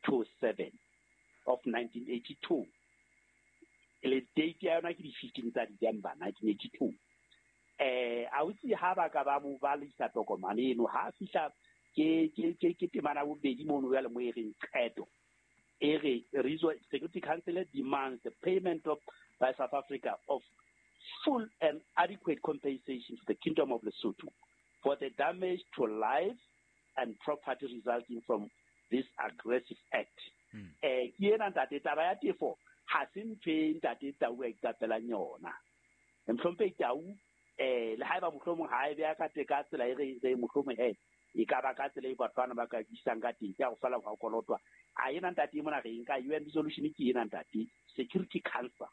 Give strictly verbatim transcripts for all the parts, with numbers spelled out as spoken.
two seven of nineteen eighty two. Le date ya yona ke di fifteen tsa December nineteen eighty two. Eh ausi ha ba ka ba mo balisa tokomane eno ha fihla ke ke ke ke temana bobedi mono ya le mo e reng qeto e re Security Council demands the payment of by South Africa of full and adequate compensation to the Kingdom of Lesotho for the damage to life and property resulting from this aggressive act. Eh ke ena ntate taba ya tefo ha se ntho e ntate Tau a iqapelang yona. Mhlomphehi Tau eh le haeba mohlomong ha e beha ka te ka tsela e re re mohlomong he e ka ba ka tsela e batho bana ba ka buisang ka teng ke a go fela go kolotwa a ena ntate mona re nka U N resolution ke ena ntate Security Council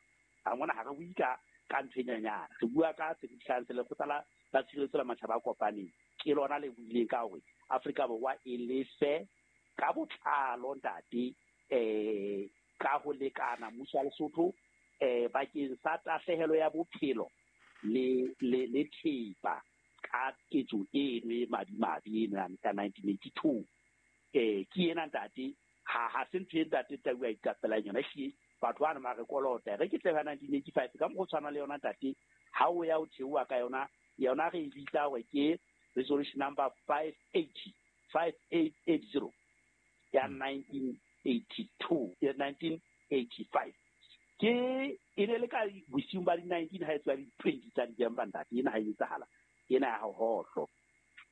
a mona ha re bue ka ka ntho e nyenyana re bua ka Security Council go tsala la tshireletso la matjhaba a kopaneng ke lona le buileng ka hore Afrika Borwa e lefe ka botlalo ntate eh ka ho lekana mmuso wa Lesotho eh bakeng sa tahlehelo ya bophelo le le le thepa ka ketso eno e madimabe eno ya ka nineteen eighty two eh ke ena ntate ha ha se ntho e ntate Tau a iqapelang yona ehlile batho bana ba re kolota re ke tle ka nineteen eighty five ka mokgwa o tshwana le yona ntate ha o ya o theoha ka yona yona re e bitsa hore ke resolution number five eighty five eight eight zero ya nineteen eighty two ya nineteen eighty five ke e ne le ka bosiung ba di nineteen ha e tswa di twenty tsa December ntate ena ha e etsahala ena ya hohlo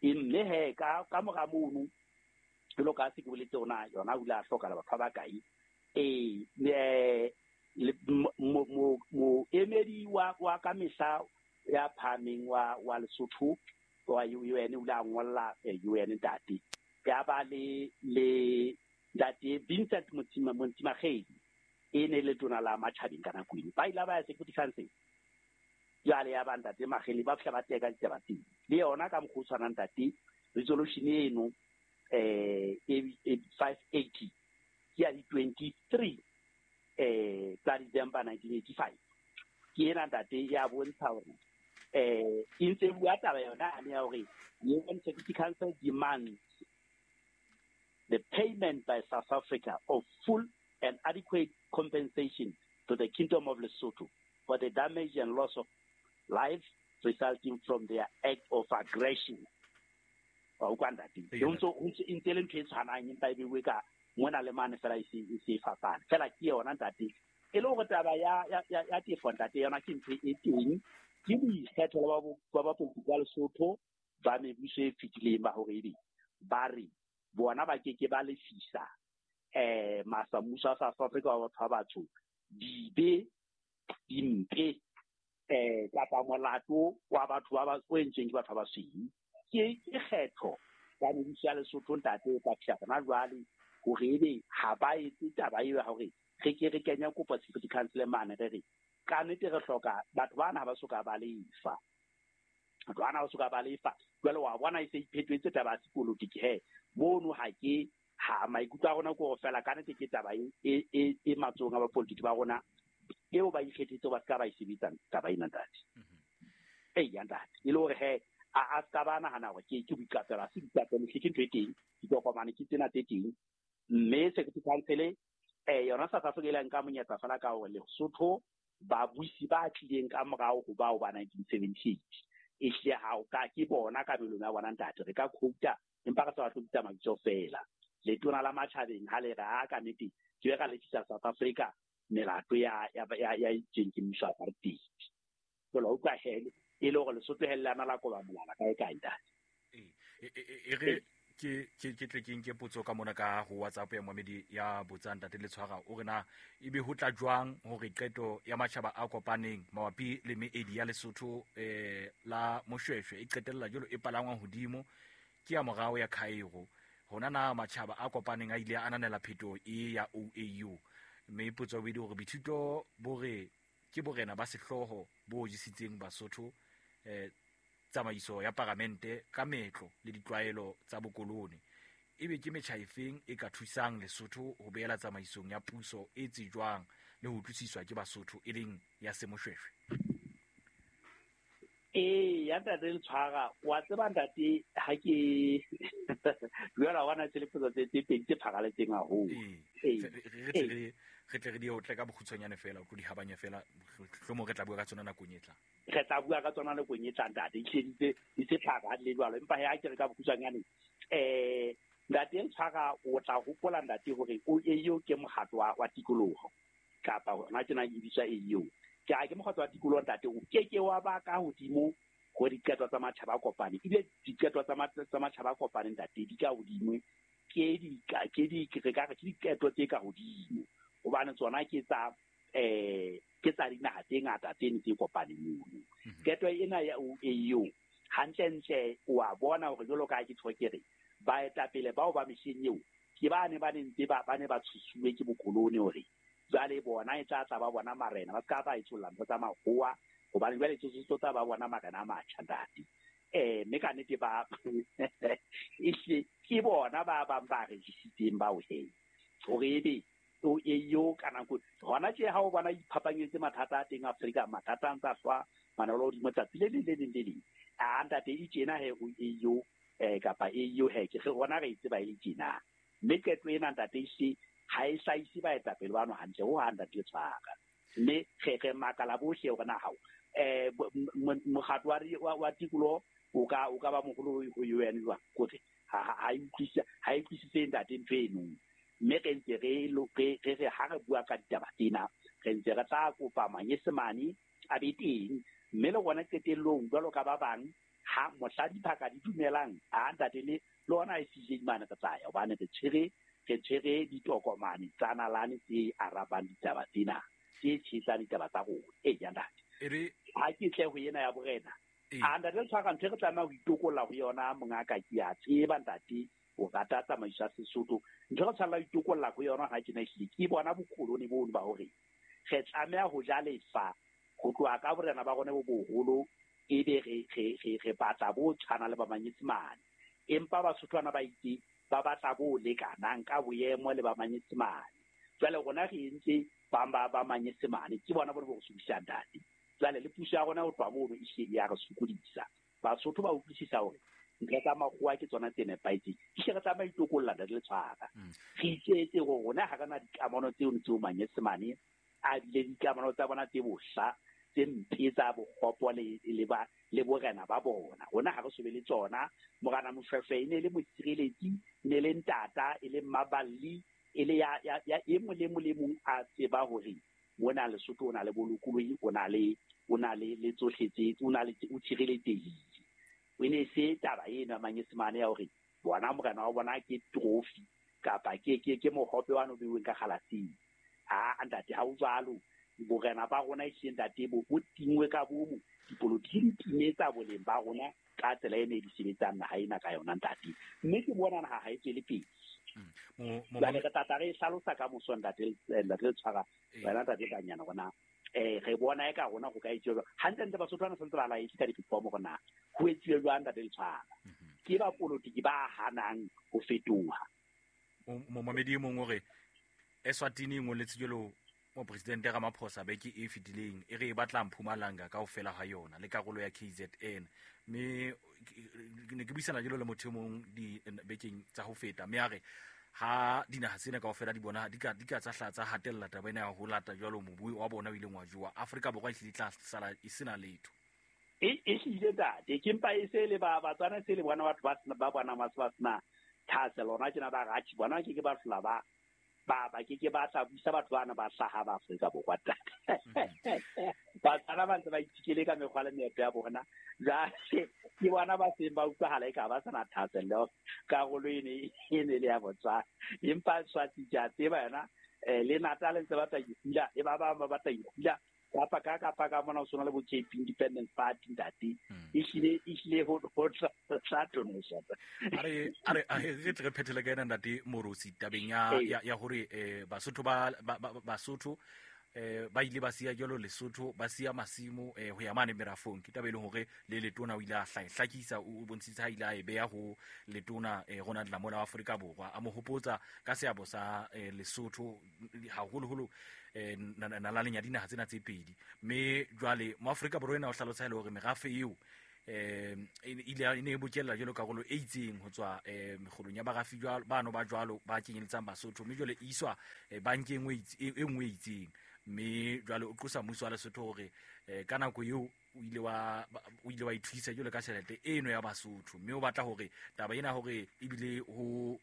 e mme he ka ka mora mono jwalo ka se ke boletse hona yona o ile a hlokahala batho ba bakae eh mo mo mo emedi wa wa ka mehla ya phahameng wa wa Lesotho wa U N o ile a ngolla U N ntate ya ba le le ntate Vincent Montsima Montsimakgedi e ne le tona la matjhabeng ka nako eno ba ile ba ya Security Council jwale ya ba ntate Makgeli ba fihla ba teka ditaba tseo le yona ka mokgwa o tshwanang ntate resolution eno eh five eighty ke ya di twenty three eh tsa December nineteen eighty five ke ena ntate ya bontsha hore eh e ntse bua taba yona ya hore U N Security Council demands the payment by South Africa of full and adequate compensation to the Kingdom of Lesotho for the damage and loss of life resulting from their act of aggression. Wa utlwa ntate e ntse e ntse le ntho e tshwanang empa e beuwe ka mona le mane fela e se e se fapana fela ke yona ntate e le hore taba ya ya ya tefo ntate yona ke ntho e teng ke boikgethelo ba ba bapolitiki ba Lesotho ba mebuso e fetileng ba hore ebe ba re bona ba ke ke ba lefisa eh masa mmuso wa South Africa wa batho ba batsho dibe dimpe eh kapa molato wa batho ba ba o entsweng ke batho ba basweu ke ke kgetho ya mebuso ya Lesotho ntate e tla fihla hona jwale hore ebe ha ba etse taba eo ya hore re ke re kenya kopo Security Council mane re re ka nnete re hloka batho bana ha ba soka ba lefa batho bana ha ba soka ba lefa jwale wa bona e se iphetwetse taba ya sepolotiki he mono ha ke ha maikutlo a rona ke hore fela ka nnete ke taba e e e matsohong a bapolitiki ba rona eo ba ikgethetse ba ska ba e sebetsang taba ena ntate e ya ntate e le hore he a a ska ba nahana hore ke ke boiqapelo ha se boiqapelo ke ntho e teng ditokomane ke tsena tse teng mme Security Council eh yona South Africa ile nka monyetla fela ka hore Lesotho babusi ba tlileng ka morao ho bao ba nineteen seventy eight e hlile ha o ka ke bona kabelong ya bona ntate re ka quota empa re sa batle ho bitsa mabitso fela letona la matjhabeng ha le re a ka nnete ke be ka lefisa South Africa melato ya ya ya itseng ke mmuso wa apartheid jwale o utlwa hele e le hore Lesotho hellana la koba molala kae kae ntate e re ke ke ke tle ke nke potso ka mona ka ho WhatsApp ya Mohamedi ya botsang ntate Letshwara o re na ebe ho tla jwang hore qeto ya matjhaba a kopaneng mabapi le meedi ya Lesotho eh la Moshweshwe e qetella jwalo e palangwang hodimo ke ya morao ya Cairo hona na matjhaba a kopaneng a ile a ananela phetoho e ya O A U mme potso e hore boithuto bo re ke borena ba sehlooho bo jesitseng Basotho eh tsamaiso ya paramente ka metlo le ditlwaelo tsa bokolone ebe ke metjha efeng e ka thusang Lesotho ho beela tsamaisong ya puso e tsejwang le ho utlwisiswa ke Basotho e leng ya Semoshweshwe? Ee, ya ntate Letshwara, wa tseba ntate ha ke jwale wa bona tse tse tse pedi tse pharaletseng haholo. Ee, re tle re re tle re di otle ka bokgutshwanyane fela, o tlo di habanya fela, mohlomong re tla bua ka tsona nakong e tlang. Re tla bua ka tsona nakong e tlang ntate, ehlile di di se pharalle jwalo, empa he ha ke re ka bokgutshwanyane eh ntate Letshwara o tla hopola ntate hore o eo ke mokgatlo wa, wa tikoloho kapa hona tjena e bitswa E U. Ke a ke mokgatlo wa tikoloho ntate, o ke ke wa ba ka hodimo ho diqeto tsa matjhaba a kopaneng, ebile diqeto tsa tsa matjhaba a kopaneng ntate di ka hodimo, ke di ke di re ka re ke diqeto tse ka hodimo hobane tsona ke tsa eh ke tsa dinaha tse ngata tse ne tse kopaneng mono. Qeto ena ya E U hantlentle o a bona hore jwalo ka ha ke tjho ke re baetapele bao ba mehleng eo ke ba ne ba ne ntse ba ba ne ba tshosuwe ke bokolone hore jwale bona e tla tla ba bona marena, ba ska ba etsolla ntho tsa makgowa hobane jwale tsotso tsa ba bona marena a matjha ntate. Eh mme ka nnete ba ehlile ke bona ba bang ba regisitseng bao he hore ebe o eo ka nako hona tje ha o bona iphapanyetse mathata a teng Afrika, mathata a ntsa hlwa manolo hodimo tsatsi le leng le leng le leng. A ntate e tjena he o eo eh kapa eo he ke re rona re e tseba e le tjena. Mme qeto ena ntate ehlile ha e hlahise baetapele bano hantle ho hang ntate Letshwara. Mme re re makala bohle hore na hao eh mokgatlo wa wa tikoloho o ka o ka ba moholo ho U N jwang, kore ha ha e utlwisisa ha e utlwisise ntate ntho eno. Mme re ntse re re re re ha re bua ka ditaba tsena re ntse re tla kopa manyesemane a be teng, mme le rona qetellong jwalo ka ba bang ha mohla diphaka di dumelang a ntate le le ona I C J mane re tla ya hobane re tshwere re tshwere ditokomane tsa nalane tse arabang ditaba tsena tse tshehetsang ditaba tsa rona. Ee ya ntate, ha ke tle ho ena ya borena a ntate Letshwara, ntho e re tlameha ho itokolla ho yona mongaka ke a tseba ntate o rata tsamaiso ya Sesotho. Ntho re tshwanela ho itokolla ho yona ha tjena ehlile ke bona bokolone bono ba hore re tlameha ho ja lefa ho tloha ka borena ba rona bo boholo, ebe re re re re batla bo tshwana le ba manyesemane, empa Basotho bana ba itse ba batla bo lekanang ka boemo le ba manyesemane. Jwale rona re entse ba ba ba manyesemane ke bona bona bo re sokodisang ntate. Jwale le puso ya rona ho tloha mono e hlile ya re sokodisa. Basotho ba utlwisisa hore ntho tsa makgowa ke tsona tse nepahetseng, ehlile re tlameha ho itokolla ntate Letshwara. Re itsetse hore rona ha re na dikamano tseo tseo manyesemane a bile dikamano tsa bona tse bohla tse mpe tsa bokgopo le le ba le borena ba bona. Rona ha re so be le tsona. Morena Mofefe e ne le mosireletsi, e ne le ntata, e le mmaballi, e le ya ya ya e mong le mong le mong a tseba hore mona Lesotho o na le bolokolohi, o na le o na le le tsohle tse o na le o tshireletsehile. O ne se taba eno ya manyesemane ya hore bona morena wa bona ke trophy kapa ke ke ke mohope wa no beuweng ka kgalaseng. A ntate ha o jwalo. Borena ba rona ehlile ntate bo bo tingwe ka bomo, dipolotiki di timetsa boleng ba rona ka tsela e ne di sebetsang naha ena ka yona ntate. Mme ke bona naha ha e tswele pele. Jwale re tla tla re hlalosa ka moso ntate ntate Letshwara, wena ntate Kanyana rona eh re bona eka rona ho ka etsuwa jwang. Hantlentle Basotho bana santse ba laetse ka diformo hore na ho etsuwe jwang ntate Letshwara. Ke ba polotiki ba hanang ho fetoha. Momamedi e mong o re Eswatini e ngoletse jwalo mopresidente Ramaphosa beke e fetileng e re e batla Mpumalanga kaofela ha yona le karolo ya K Z N. Mme ne ke buisana jwalo le motho e mong di bekeng tsa ho feta, mme a re ha dinaha tsena kaofela di bona di ka di ka tsa hla tsa hatella taba ena ya ho lata jwalo mobu wa bona o ileng wa jowa, Afrika Borwa e hlile tla sala e sena letho. E e hlile ntate, ke mpa e se le ba Batswana se le bona batho ba sena ba bona ba sena thahasello hona tjena ba ratjhi bona ke ke ba hlola ba ba ba ke ke ba tla buisa batho bana ba hlaha ba Afrika Borwa ntate. Batswana ba ntse ba itikele ka mekgwa le meetlo ya bona. Jwale ke bona ba seng ba utlwahala eka ba sena thahasello karolo ene e ne le ya Botswana. Empa Swati ke a tseba yona eh le Natal ntse ba tla ikgula, e ba bang ba batla ikgula kapa ka kapa ka mona o sona le bo K P Independence Party ntate. Ehlile ehlile ho ho tla tonosa. A re a re a re tle re phethele ka ena ntate Moorosi tabeng ya ya ya hore eh Basotho ba Basotho eh ba ile ba siya jalo Lesotho ba siya masimo eh ho ya mane merafong. Ke taba e leng hore le letona o ile a hlakisa o bontshitse ha ile a e beha ho letona eh Ronald Lamola wa Afrika Borwa, a mo hopotsa ka seabo sa eh, Lesotho haholoholo eh nalaleng ya dinaha tsena tse pedi. Mme jwale mo Afrika Borwa ena o hlalosa ile hore merafe eo eh ile ne e bokella jalo karolo e itseng ho tswa eh mekgolong ya barafi jwalo bano ba jwalo ba kenyeletsang Basotho, mme jwale e iswa bankeng e nngwe e itseng. Mme jwale o qosa mmuso wa Lesotho hore ka nako eo o ile wa o ile wa ithuisa jwalo ka tjhelete eno ya Basotho, mme o batla hore taba ena hore ebile ho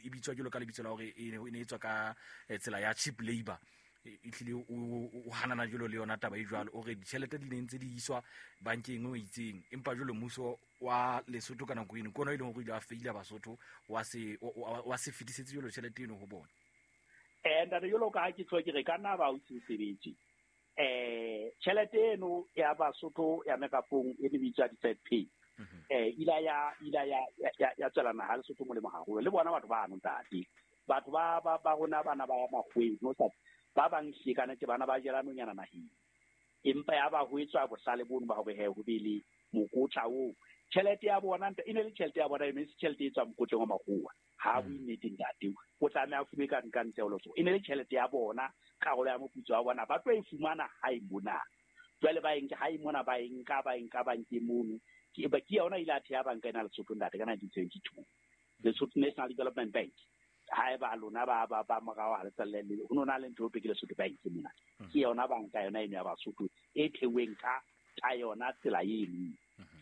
e bitswa jwalo ka lebitso la hore e ne e tswa ka tsela ya cheap labor, e tlile o hanana jwalo le yona taba e jwalo, o re ditjhelete di ne ntse di iswa bankeng e itseng, empa jwalo mmuso wa Lesotho ka nako eno kona e leng hore ile wa feila Basotho wa se wa se fetisetse jwalo tjhelete eno ho bona. Eh ntate jwalo ka ha ke tlo ke re ka nna ba o sebetse eh tjhelete eno ya Basotho ya merafong e ne bitswa di-third pay eh ila ya ila ya ya tswela naha Lesotho molemo haholo le bona batho ba no ntate batho ba ba ba rona bana ba ya makgweng no sa ba bang hle kana ke bana ba jela nonyana naheng, empa ya ba ho etswa bohlale bono ba hore he ho be le mokotla oo tjhelete ya bona e ne le tjhelete ya bona e ne se tjhelete e tswang mokotleng wa makgowa ha bo nnete ntate o tlameha a fume ka nka ntle ho Lesotho, e ne le tjhelete ya bona karolo ya moputso wa bona ba tlo e fumana ha e mona jwale ba enke ha e mona ba enka ba enka bankeng mono ke ba ke yona ile a theha banka ena Lesotho ntate ka nineteen seventy-two Lesotho National Development Bank. Ha eba lona ba ba ba morao ha le tsalle le ho nona le ntho e ke Lesotho Bank mona ke yona banka yona eno ya Basotho e theweng ka ka yona tsela eno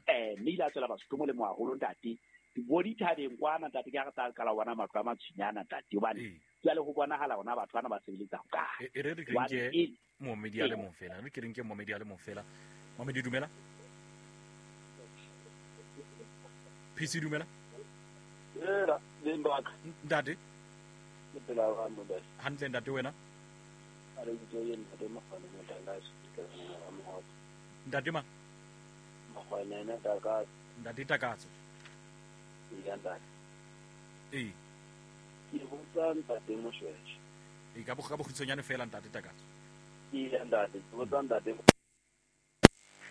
eh mme ile a tswela Basotho molemo haholo ntate bo dithabeng kwana ntate ke ha re tla qala bona matlo a matshwenyana ntate hobane jwale ho bonahala hona batho bana ba sebeletsa ho kae. E re re ke momedi a le mong fela re ke re nke momedi a le mong fela. Momedi dumela P C dumela era le mbaka ntate ke phela wa mo hantle ntate wena a re ke yena ntate mafana ntate ntate ma mafana ena takatso ntate takatso ya ntate eh ke botsa ntate Moshweshwe e ka bo ka bokhutsonyane fela ntate takatso ke ya ntate ke botsa ntate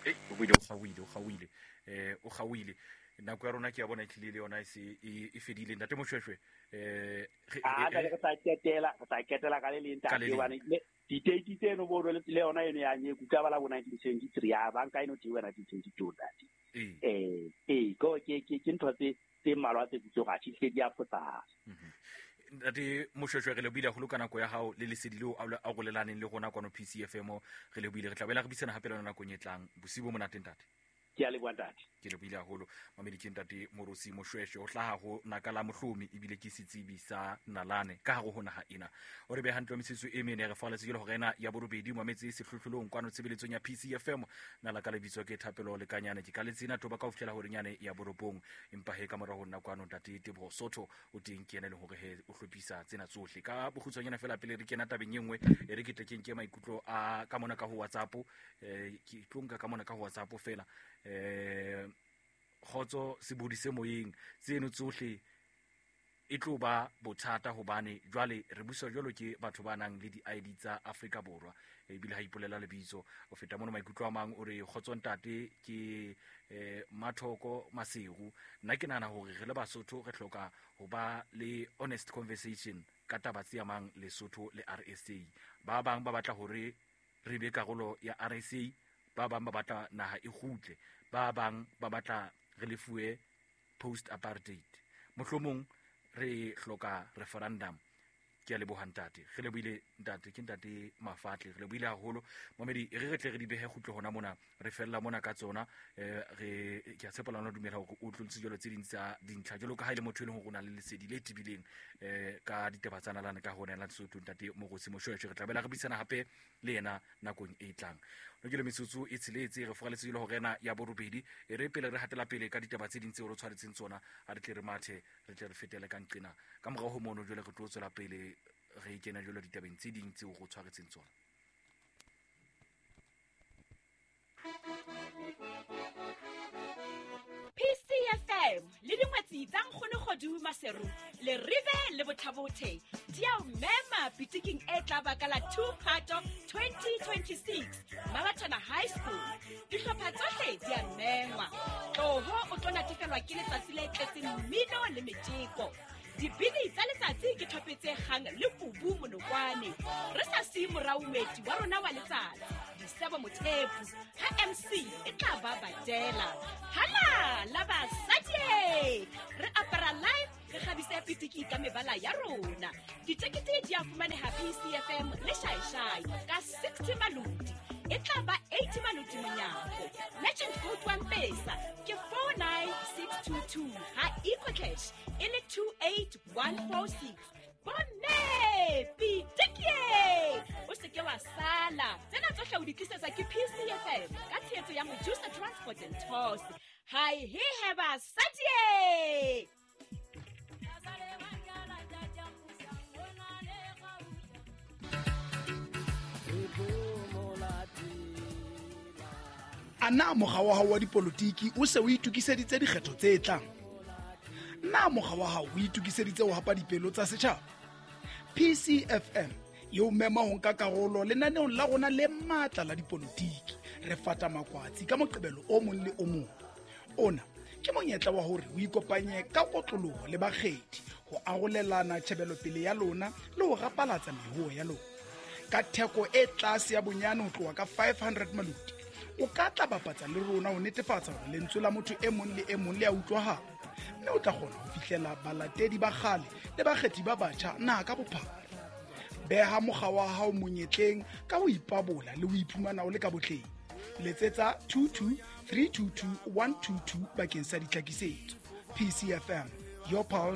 eh o buile o gauile o gauile eh o gauile nako ya rona ke ya bona e tlile le yona e se e fedile ntate Moshweshwe eh a re tla ketela re tla ketela ka le leng ntate hobane diteiti tseno bo le yona eno ya nyeku ka bala bo nineteen seventy-three ya banka eno teiwa nineteen seventy-two ntate eh eh go ke ke ke ntho tse tse mmalwa tse tsoga tšhihle di a fosahala. Ntate Moshweshwe re lebohile haholo ka nako ya hao le lesedi leo a rolelaneng le rona kwano P C F M re lebohile re tla boela re buisana hape le yona nakong e tlang. Bosiu bo monate ntate. Ke a leboha ntate. Ke lebohile haholo mamedi ke ntate Morosi Moshweshwe o hlaha ho naka la mohlomi ebile ke setsebi sa nalane ka hare ho naha ena. O re beha hantle metsotso e mene re faletse ke le hore ena ya borobedi mametse sehlohlolong kwano tshebeletsong ya P C F M nala ka lebitso ke Thapelo Lekanyane ke ka letsena toba ka ho fihlela hore nyane ya borobong empa he ka mora ho nna kwano ntate Teboho Sotho o teng ke yena le hore he o hlophisa tsena tsohle ka bokgutshwanyana fela pele re kena tabeng e nngwe e re ke tle ke nke maikutlo a ka mona ka ho WhatsApp eh ke tlo nka ka mona ka ho WhatsApp fela eh kgotso sebodi se moyeng tseno tsohle e tlo ba bothata hobane jwale re buswa jwalo ke batho ba nang le di-I D tsa Afrika Borwa ebile ha ipolela lebitso o feta mono maikutlo a mang o re kgotso ntate ke eh Mathoko Maseru nna ke nahana hore re le Basotho re hloka ho ba le honest conversation ka taba tse amang Lesotho le R S A. Ba bang ba batla hore re be karolo ya R S A, ba bang ba batla naha e kgutle, ba bang ba batla re lefuwe post apartheid. Mohlomong re hloka referendum. Ke a leboha ntate, re lebohile ntate, ke ntate Mafatle, re lebohile haholo mamedi. Re re tle re di behe kgutlo hona mona, re fella mona ka tsona. Eh re ke a tshepa lona dumela hore o tlolotse jwalo tse ding tsa dintlha jwalo ka ha ile motho e leng hore o na le lesedi le tibileng eh ka ditaba tsa nalane ka hona la Lesotho ntate Morosi Moshweshwe. Re tla bela re buisana hape le yena nakong e tlang. No ke le metsotso e tsheletse re foraletse jwalo hore ena ya borobedi e re pele re hatela pele ka ditaba tse ding tseo re tshwaretseng tsona, ha re tle re mathe re tle re fetele ka nqena ka morao ho mono jwale re tlo tswela pele re kena jwalo ditabeng tse ding tseo re tshwaretseng tsona. P C F M le dingwetsi tsa Nkgono Kgodu Maseru le Rive le Bothabothe di a o mema pitiking e tla baka la two Phato twenty twenty-six Mabatana High School. Dihlopha tsohle di a mengwa. Tloho o tlo natefelwa ke letsatsi le tletseng mmino le metjeko. Dibini tsa letsatsi ke thopetse kgang le kubu monokwane. Re sa siye morao moeti wa rona wa letsatsi, Disebo Mothepu, ha M C e tla ba badela. Hala la basadi! Re apara live, re kgabise pitiki ka mebala ya rona. Ditekete di a fumaneha P C F M le Shaishai ka sixty maloti. E tla ba eighty maloti monyako. Legend code wa Mpesa ke four nine six two two ha EcoCash e le two eight one four six. Bomme pitiki! O se ke wa sala. Tsena tsohle o di tlisetsa ke P C F M ka tshehetso ya Mojusa Transport and Tours. Hi he he basadi! A na mokga wa hao wa dipolotiki o se o itokiseditse dikgetho tse tlang? Na mokga wa hao o itokiseditse ho hapa dipelo tsa setjhaba? P C F M e o mema ho nka karolo lenaneong la rona le matla la dipolotiki. Re fata makwatsi ka Moqebelo o mong le o mong. Ona ke monyetla wa hore o ikopanye ka kotloloho le bakgethi ho arolelana tjhebelopele ya lona le ho rapalatsa mehuo ya lona. Ka theko e tlase ya bonyane ho tloha ka five hundred maloti, o ka tla bapatsa le rona ho netefatsa hore lentswe la motho e mong le e mong le a utlwahala, mme o tla kgona ho fihlela balatedi ba kgale le bakgethi ba batjha naha ka bophara. Beha mokga wa hao monyetleng ka ho ipabola le ho iphumana o le ka botleng. Letsetsa two two three two two one two two bakeng sa ditlhakisetso. P C F M, your pulse.